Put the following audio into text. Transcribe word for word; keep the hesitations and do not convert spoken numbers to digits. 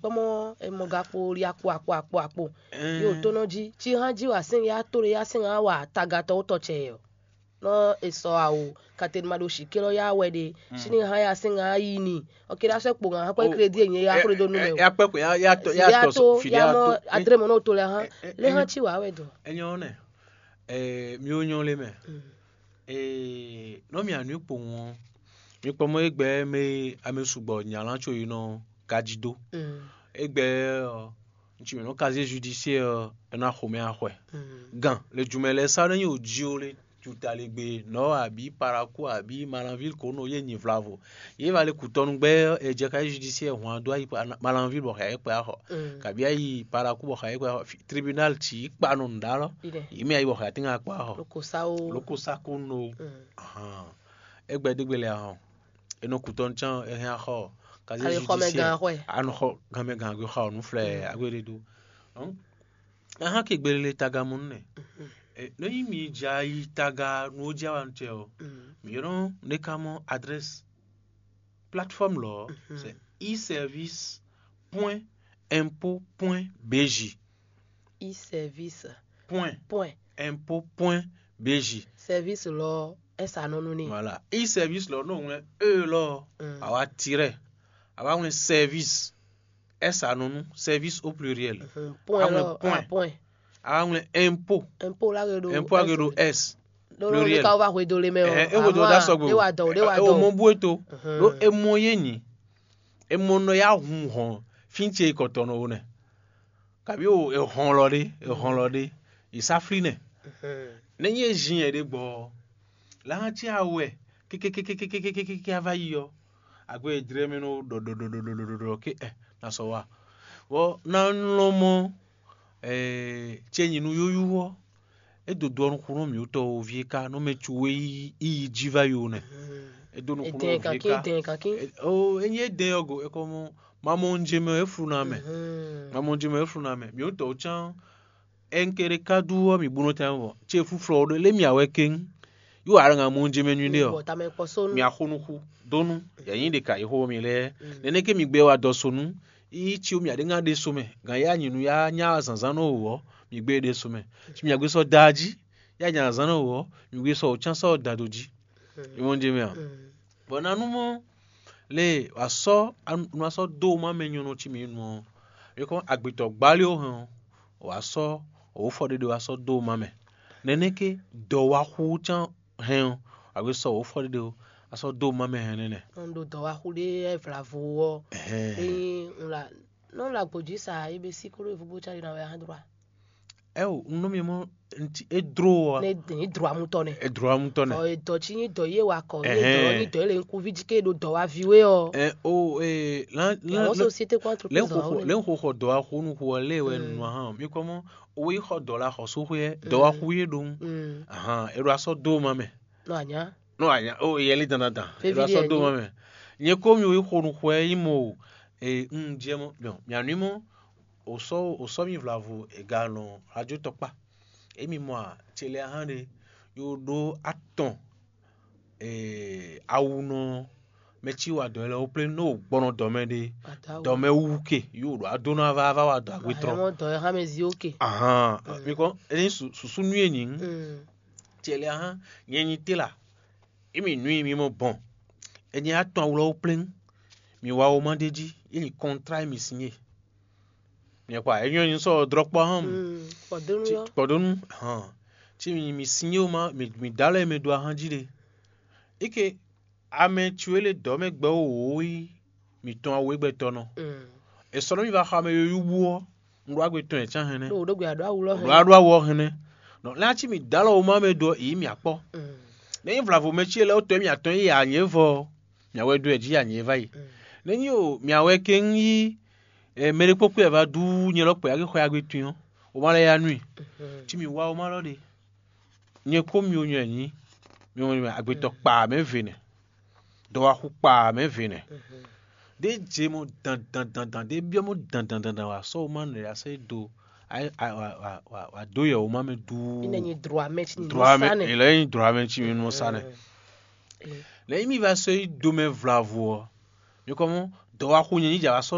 kpɔ́mɔ, e mɔ gakpo li akpo akpo akpo akpo. Yo tó nɔ jí, ci hán jí wa sɛn ya tó ɖe ya sɛn hán wa tagatɔ wó tɔ cɛ yɛ. Nɔ e sɔ awo, kateli ma ɖo shikɛ lɔ ya wɛ ɖe. Sini hán ya sɛn hán yi ni. Ɔkɛ ɖa sɛ kpo hán kɔ crédit e nyɛ ya xlé dó nu mɛ o. Ya kpɛ ko ya ya tɔ ya ya tɔ to fili ya ya mɔ to. Adré mɔ n'o to lɛ hán. Lé hán ci wa wɛ dɔ. Enyɔ nɛ. Eh, mi wo nyɔ le mɛ. Eh, nɔ mi anu kpo ŋɔ. Mi kpɔ mɔ egbe me ame sugbɔ nyalan tso yi nɔ gaji do. Egbe ɔ, ŋutsu mɛ nɔ casier judiciaire ɔ, e na xo mɛ axɔɛ. Gan le jumɛ lɛ sa ne nyi o ji o le juta le gbe nɔ abi paraku abi malanville ko no ye nyi vlavo. Ye va le kutɔnu gbɛ ɛ jɛ casier judiciaire hwan do ayi malanville bɔ xa ye kpɛ axɔ. Kabi ayi paraku bɔ xa ye kpɛ axɔ. Tribunal ti kpa nɔ nda lɔ. Yi mi ayi bɔ xa tinga kpɛ axɔ. Lokosa o. Lokosa ko no. Egbe degbe le ahɔn. E nɔ kutɔnu can e hɛn axɔ. Casier judiciaire. Anɔ xɔ ganmɛ gan agbe xɔ nu flɛ agbe ɖe do. Ahan ke gbelele taga mɔ nɛ. Nɔ yi mi ja yi taga nu o ja wa nu tɛ o. Mi yɔrɔ ne ka mɔ adresse plateforme lɔ c'est e-service point impôt point bj. E-service point point impôt point bj. Service lɔ esa nɔ nu ni. Voilà, e-service lɔ n'o ŋlɛ e lɔ awa tirɛ awa ŋlɛ service esa nɔ nu service au pluriel. Point awa ŋlɛ lɔ point point. Awa ŋlɛ impôt. Impôt la ke ɖo impôt ake ɖo s. Ɖo ɖo pluriel ka wo va hwedo le mɛ o. Ɛ e hwedo da sɔgbe o. E wa dɔ o de wa dɔ o. Mɔ bu eto ɖo emɔ ye nyi emɔ nɔ ya hun hɔn fi ce kɔtɔnɔ o nɛ. Kabi o ehɔn lɔ ɖe ehɔn lɔ ɖe isafli nɛ. Ne nyi ezin yɛ ɖe gbɔ la hã ti awɛ kékékékékékékéké a va yi ɔ. Agbe e jlɛ mɛ nɔ ɖɔ ɖɔ ɖɔ ɖɔ ɖɔ ɖɔ ɖɔ ke ɛ na sɔ wa. Vɔ na lɔn mɔ ce nyi nu yóyú ɔ́. E do do ɔ́ nukúnnú mǐtɔn o ví e ka nɔ mɛ cu e yi yi jí va yi o nɛ. E do nukúnnú o ví e ka. Enyi e dɛn ɔ́ go e kɔ mɔ mamɔnjemɛ e flu na mɛ. Mamɔnjemɛ e flu na mɛ mǐtɔn o cán. Ɛnkeɖe ka dú ɔ́ mǐ bú nɔ tɛn vɔ ce fúflɔ ɔ́ ɖo lé mì awɛ kéŋ. Yí wǎ ɖo ŋa mɔnjemɛ nyuɖe ɔ́. Mì axo nuxu dónú yɛ̌nyí ɖe ka yi xó mi lɛ́ɛ. Nɛnɛ́ ké mi gbɛ wa dɔ so nú yí cí mì aɖé ŋá ɖe so mɛ gǎn yá nyi nú yá nyá zǎnzán nɔ wǒ ɔ́, mi gbé ɖe so mɛ. Ci mì agbé sɔ́ da jí yá nyá zǎn nɔ wǒ ɔ́, mi gbé sɔ́ wǒ cán sɔ́ da do jí. Ìwọ́n jɛ mɛ a? Bɔ nanú mɔ lě wǎ sɔ́ nu wá sɔ́ dó má mɛ nyɔ́nɔ cí mǐ nu ɔ́, é kɔn agbětɔ́ gbálí ó hɛn ɔ́, wǎ sɔ́ òwúfɔ ɖé ɖé wá sɔ́ dó má mɛ. Nɛnɛ́ ké dɔ̌wáxú cán hɛn ɔ́, wǎ gbé sɔ́ òwúfɔ ɖé ɖé wá sɔ́ dó má mɛ hɛn nɛnɛ. Un ɖo dɔ̌wáxú ɖé ɛ́ vlavo ɔ́, ényí un la nɔ la gbǒ jí sa é bɛ sí kóɖó evugbó cáli ná wɛ ahán dro a? Ɛ o, un nɔ mi mɔ nti e dro ɔ. Ne e dro amutɔ nɛ. E dro amutɔ nɛ. Ɔ edɔ tsi nyi dɔ ye wa kɔ ye dɔ nyi dɔ ye le ŋkuvi dzi ke ɖo dɔ wa vi we ɔ. Ɛ o ee lan lan Àwọn société kó entreprise dɔ wa wo le. Lɛ ń xo xɔ dɔ wa xo nu xo ɔ lé wɛ nu hàn mi kɔ mɔ owó yi xɔ dɔ la xɔ so xo yɛ dɔ wa xo ye ɖo ŋu. Ahan e ɖo asɔ do ma mɛ. Nɔ anya. Nɔ anya o yɛli dandandan e ɖo asɔ do ma mɛ. Nye ko mi wo yi xo nu xo yɛ yi mo ee un jɛ mɔ mianui mɔ. Osɔ osɔ mi vlavo e ga nɔ radio tɔkpa. Emi mɔ a ce lɛ ahan ɖe yo ɖo atɔn ee awu nɔ mɛ ci wa dɔ lɛ wo plé no gbɔnɔ dɔ mɛ ɖe dɔ mɛ wu ke yo ɖo ado na va va wa dɔ agbe trɔ. Mɔ dɔ yɛ hã mɛ zi oke. Ahan mi kɔ eni susu nu ye nyi. Ce lɛ ahan nyɛ nyi te la emi nui mi mɔ bɔn. Enyi atɔn awu lɔ wo plé mi wa wo ma ɖe jí eni kɔntra mi sin ye. Miɛ kpa enyɔ nyi sɔ drɔkpɔ hɔn. Kpɔdonu. Kpɔdonu hɔn. Ci mi mi sin yé ma mi mi da lɛ mi do ahan jí ɖe. Ike ame tsu ele dɔ mɛ gbɛ wo wo yi mi tɔn awu egbɛ tɔ nɔ. Esɔ nɔ mi va xɔ ame yoyu bu ɔ. Ŋɖo agbe tɔn yɛ can hɛnɛ. Ɖo ɖo gbe aɖo awu lɔ hɛnɛ. Ɖo aɖo awu ɔ hɛnɛ. Nɔ lɛ ci mi da lɔ wo ma mɛ do yi mi akpɔ. Ne nyi vlavo mɛ ci ele wo tɔ mi atɔn yi anyɛ vɔ. Mia wɛ do yɛ jí anyɛ va yi. Ne nyi o mia wɛ ke ń yi mɛ ɖé kpókpó yɛ va dú nyɛ lɔ kpɛ ake xɔ agbe tun ɔ́, o ma lɛ ya nú i. Ci mi wa o ma lɔ ɖe. Nyɛ kó mi o nyɔ nyi mi o nyɔ agbetɔ kpa mɛ ve nɛ. Dɔwaxu kpa mɛ ve nɛ. Ɖé je mɔ dandandandan ɖé biɔ mɔ dandandandan wa sɔ o ma nɔ ya sɛ do wa do yɛ o ma mɛ duu. Ine nyi droit mɛ ci nyi droit mɛ sa nɛ. Ele nyi droit mɛ ci mi nɔ sa nɛ. Lɛ yi mi va sɔ yi do mɛ vlavo ɔ. Mi kɔ mɔ dɔwaxu nyɛ nyi dza va sɔ